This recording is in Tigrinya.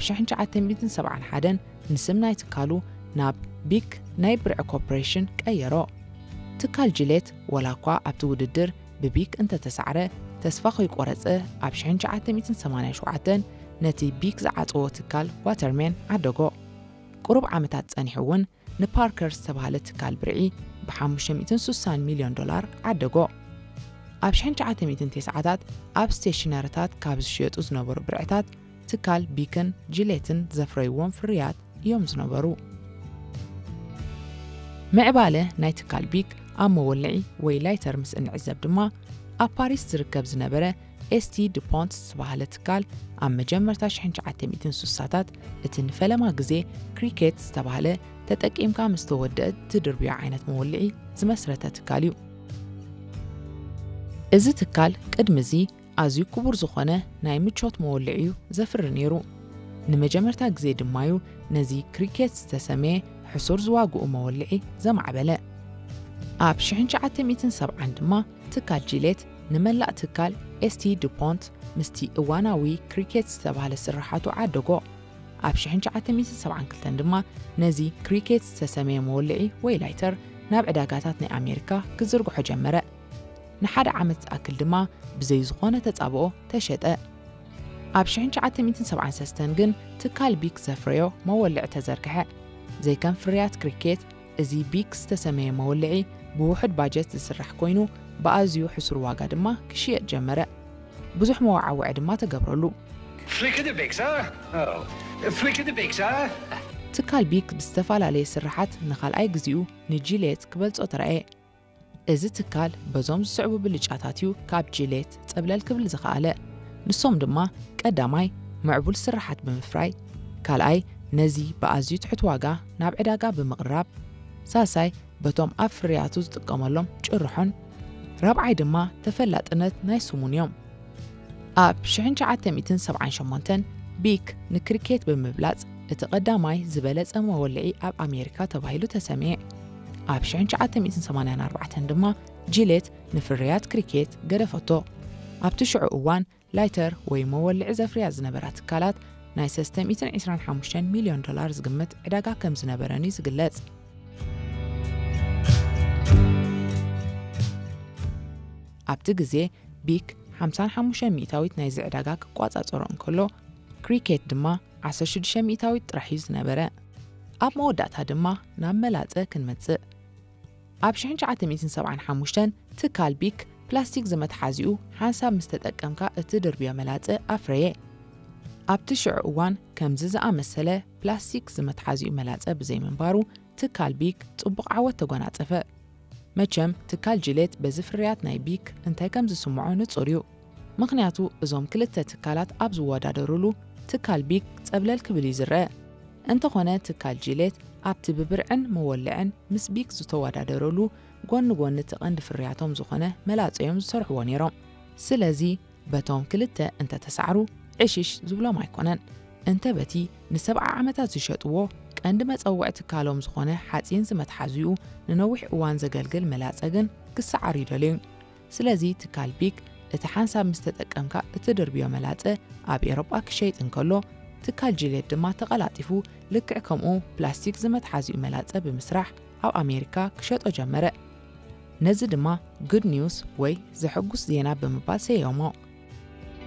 ብ1971 ንስም ናይ ትካሉ ናብ ቢክ ናይ ብርዒ ኮርፖሬሽን ቀየሮ። ትካል ጂሌት ወላ እኳ ኣብቲ ውድድር ብቢክ እንተተሳዕረ፣ ተስፋ ከይቆረጸ ኣብ 1987 ነቲ ቢክ ዝዓጸዎ ትካል ዋተርሜን ዓደጎ። ቁሩብ ዓመታት ጸኒሑ እውን ንፓርከር ዝተባህለ ትካል ብርዒ ብ560 ሚልዮን ዶላር ዓደጎ። ኣብ 1990ታት ኣብ ስቴሽነርታት ካብ ዝሽየጡ ዝነበሩ ብርዕታት ትካል ቢክን ጂሌትን ዘፍረይዎም ፍርያት እዮም ዝነበሩ። ምዕባለ ናይ ትካል ቢክ ኣብ መወልዒ ወይ ላይተር ምስ እንዕዘብ ድማ፣ ኣብ ፓሪስ ዝርከብ ዝነበረ ኤስቲ ዱፖንት ዝተባህለ ትካል ኣብ መጀመርታ 1960ታት እቲ ንፈለማ ግዜ ክሪኬት ዝተባህለ ተጠቂምካ ምስ ተወደአ ትድርብዮ ዓይነት መወልዒ ዝመስረተ ትካል እዩ። እዚ ትካል ቅድሚ እዚ ኣዝዩ ክቡር ዝኾነ ናይ ምቾት መወልዒ እዩ ዘፍሪ ነይሩ። ንመጀመርታ ግዜ ድማ እዩ ነዚ ክሪኬት ዝተሰመየ ሕሱር ዝዋግኡ መወልዒ ዘማዕበለ። ኣብ 1970 ድማ ትካል ጂሌት ንመላእ ትካል ኤስቲ ዱፖንት ምስቲ እዋናዊ ክሪኬት ዝተባህለ ስርሓቱ ዓደጎ። ኣብ 1972 ድማ ነዚ ክሪኬት ዝተሰመየ መወልዒ ወይ ላይተር ናብ ዕዳጋታት ናይ ኣሜሪካ ክዝርግሖ ጀመረ። ንሓደ ዓመት ዝኣክል ድማ ብዘይ ዝኾነ ተጻብኦ ተሸጠ። ኣብ 1973 ግን ትካል ቢክ ዘፍረዮ መወልዒ ተዘርግሐ። ዘይከም ፍርያት ክሪኬት፣ እዚ ቢክ ዝተሰመየ መወልዒ ብውሑድ ባጀት ዝስራሕ ኮይኑ፣ ብኣዝዩ ሕሱር ዋጋ ድማ ክሽየጥ ጀመረ። ብዙሕ መወዓውዒ ድማ ተገብረሉ። Flick of the Vic, sir. Oh, flick of the Vic, sir. ትካል ቢክ ብዝተፈላለየ ስርሓት ንኻልኣይ ግዜኡ ንጂሌት ክበልጾ ተራእየ። እዚ ትካል በዞም ዝስዕቡ ብልጫታት እዩ ካብ ጂሌት ጸብለል ክብል ዝኸኣለ። ንሶም ድማ፣ ቀዳማይ፣ ምዕቡል ስርሓት ብምፍራይ፣ ካልኣይ፣ ነዚ ብኣዝዩ ትሑት ዋጋ ናብ ዕዳጋ ብምቕራብ፣ ሳልሳይ፣ በቶም ኣብ ፍርያቱ ዝጥቀመሎም ጭርሖን፣ ራብዓይ ድማ ተፈላጥነት ናይ ስሙን እዮም። ኣብ 1978 ቢክ ንክሪኬት ብምብላጽ እቲ ቀዳማይ ዝበለጸ መወልዒ ኣብ ኣሜሪካ ተባሂሉ ተሰምየ። ኣብ 1984 ድማ ጂሌት ንፍርያት ክሪኬት ገደፈቶ። ኣብቲ ሽዑ እዋን ላይተር ወይ መወልዒ ዘፍርያ ዝነበራ ትካላት ናይ 325 ሚልዮን ዶላር ዝግመት ዕዳጋ ከም ዝነበረን እዩ ዝግለጽ። ኣብቲ ግዜ ቢክ 55 ሚእታዊት ናይዚ ዕዳጋ ክቋጻጸሮ እንከሎ፣ ክሪኬት ድማ 16 ሚእታዊት ጥራሕ እዩ ዝነበረ። ኣብ መወዳእታ ድማ ናብ መላጸ ክንመጽእ። ኣብ 1975 ትካል ቢክ ፕላስቲክ ዝመትሓዚኡ ሓንሳብ ምስ ተጠቀምካ እትድርብዮ መላጸ ኣፍረየ። ኣብቲ ሽዑ እዋን ከምዚ ዝኣመሰለ ፕላስቲክ ዝመትሓዚኡ መላጸ ብዘይምንባሩ ትካል ቢክ ጽቡቕ ዓወት ተጎናጸፈ። መቸም ትካል ጂሌት በዚ ፍርያት ናይ ቢክ እንታይ ከም ዝስምዖ ንጹር እዩ። ምኽንያቱ እዞም ክልተ ትካላት ኣብ ዝወዳደሩሉ ትካል ቢክ ጸብለል ክብል እዩ ዝረአ። እንተኾነ ትካል ጂሌት ኣብቲ ብብርዕን መወልዕን ምስ ቢክ ዝተወዳደረሉ ጎኒ ጎኒ እቲ ቀንዲ ፍርያቶም ዝኾነ መላጸ እዮም ዝሰርሕዎ ነይሮም። ስለዚ በቶም ክልተ እንተተሳዕሩ ዕሽሽ ዝብሎም ኣይኮነን። እንተ በቲ ንሰብዓ ዓመታት ዝሸጥዎ ቀንዲ መጸውዒ ትካሎም ዝኾነ ሓጺን ዝመትሓዚኡ ንነዊሕ እዋን ዘገልግል መላጸ ግን ክሰዓር ይደልዩ። ስለዚ ትካል ቢክ እቲ ሓንሳብ ምስ ተጠቀምካ እትድርብዮ መላጸ ኣብ ኤሮጳ ክሸይጥ እንከሎ፣ ትካል ጂሌት ድማ ተቐላጢፉ ልክዕ ከምኡ ፕላስቲክ ዝመትሓዚኡ መላጸ ብምስራሕ ኣብ ኣሜሪካ ክሸጦ ጀመረ። ነዚ ድማ ጉድ ኒውስ ወይ ዘሐጉስ ዜና ብምባል ሰየሞ።